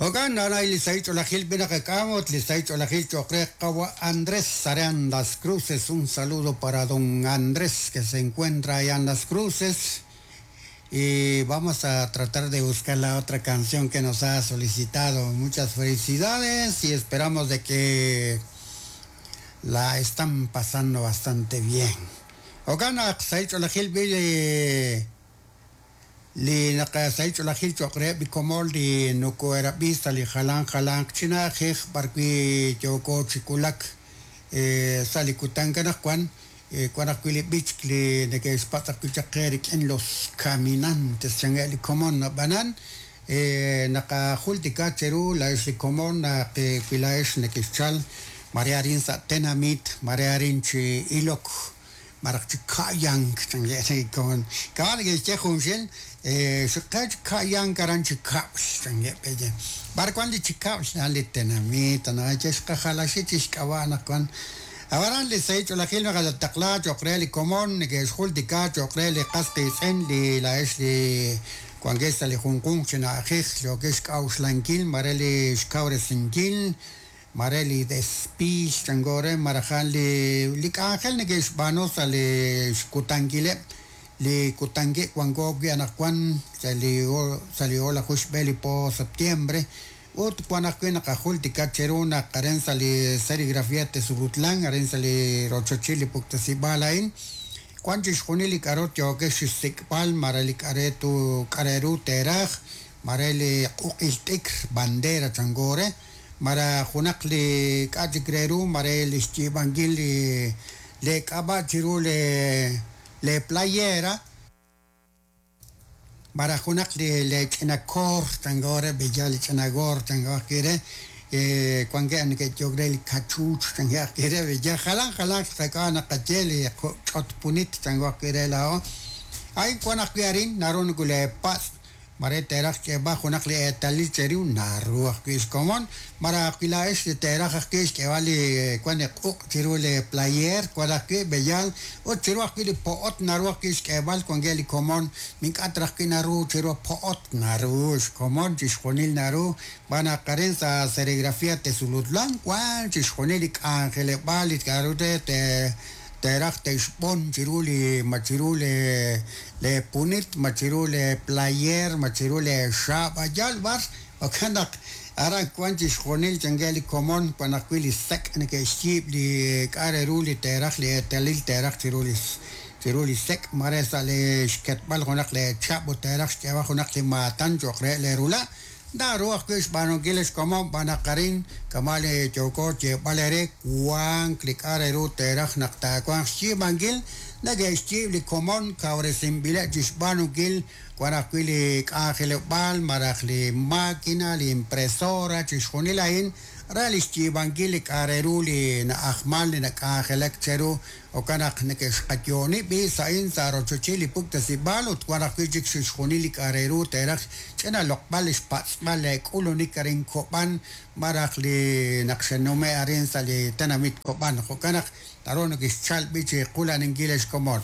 Jo'kan nanay li sahil ch'oolejil b'i naqak'am ut li sahil ch'oolejil cho'q re qawa' Andrés aran Las Cruces. Un saludo para don Andrés que se encuentra allá en Las Cruces. Y vamos a tratar de buscar la otra canción que nos ha solicitado. Muchas felicidades y esperamos de que la están pasando bastante bien. Jo'kan naq sahil ch'oolejil b'i li li naqasahil ch'oolejil cho'q reheb' li komon li nokoherab'i sa' li jalan jalanq chi na'ajej b'arwi' yooko chi wulak sa' li kutan anaqwan wan ajwi' li b'ichk li neke'xpatz' ajwi' chaq qe rik'in Los Caminantes chankeb' li komon ab'anan naqajultika cheru laa'ex li komon naq wi laa'ex nekexchal mare arin sa' tenamit mare arin chi ilok malaj chi ka'yank chankeb' li komon kama' neke'xye junxil xiqe chi ka'yank aran chi kab'l chankeb' pe'ya b'ar wan li chi kab'l a'an li tenamit anaqwan xqajalaxi chi xk'ab'a' anaqwan ab'anan li sahil ch'oolejil naqataqla cho'q re li komon neke'xjultika cho'q re li qas qiitz'in li laa'ex li wankex sa' li junjunq chi na'ajej yookex xk'a'uxlankil mare li xkawresinkil mare li despiil chanko re malaj a'an li li k'anjel neke'xb'aanu sa' li xkutankileb' li kutankeb' wanko wi' anaqwan sa' li sa' li o'laju xb'e li po septiembre ut wan ajwi' naqajultika cheru naq arin sa' li serigrafía Tezulutlán arin sa' li rochochil li puktasib'aal a'in wan chixjunil li k'a'ru yookex xsik'b'al mare li k'aretu k'areru teeraj mare li q'uq'il t'ikr bandera chanko re mara junaq li k'a' chik re ru mare li xyiib'ankil li le k'ab'a' chiru le le playera malaj junaq li le ch'ina koor chanko re b'eya li ch'ina goor chanko ajwi' re wankeb' neke'yehok re li kachuuch chankeb' ajwi' re b'eya jalan jalan qak'a' naqaye li ch'otpunit chanko ajwi' re laa'o a'in wan ajwi' arin naru nakuleepatz' mare teeraj xk'eeb'al junaq li eetalil cheru naru ajwi' xkomon malaj ajwi' laa'ex li teeraj ajwi' xk'eeb'al li wan li q'uq' chiru li player wan ajwi' b'eyal ut chiru ajwi' li po'ot naru ajwi' xk'eeb'al wankeb' li komon ink'a' raj ajwi' naru chiru po'ot naru xkomon chixjunil naru xb'aan naq arin sa' serigrafía Tezulutlán wan chixjunil li k'anjeleb'aal li k'a'ru re teeraj te'xb'on chiru li ma chiru le le punit ma chiru le player ma chiru le xaab' yal b'ar jo'kan naq aran wan chixjunil chankeb' li komon wan ajwi' li sek' neke'xyiib' li k'a' re ru li teeraj li eetalil teeraj chiru li chiru li sek' mare sa' li xketb'al junaq le chab' ut teeraj xk'eeb'al junaq li maatan cho'q re leerula' naru ajwi' xb'aanunkil xkomon b'aan naq arin kama' li yooko xyeeb'al eere wank li k'a' re ru teeraj naq taawanq xyiib'ankil neke'xyiib' li komon kawresinb'ileb' chi xb'aanunkil wan ajwi' li k'anjeleb'aal malaj li máquina li impresora chixjunil a'in re li xyiib'ankil li k'a' re ru li na'ajman li nak'anjelak cheru jo'kan naq neke'xqayooni b'i' sa'in sa' rochochil li puktasib'aal ut wan ajwi' chik chixjunil li k'a' re ru teeraj ch'ina loq'b'al li xpatz'b'al le k'ulunik arin Kob'an malaj li naq xe'nume' arin sa' li tenamit Kob'an jo'kan naq naru nekexchal b'i' chi qula'ninkil xkomon.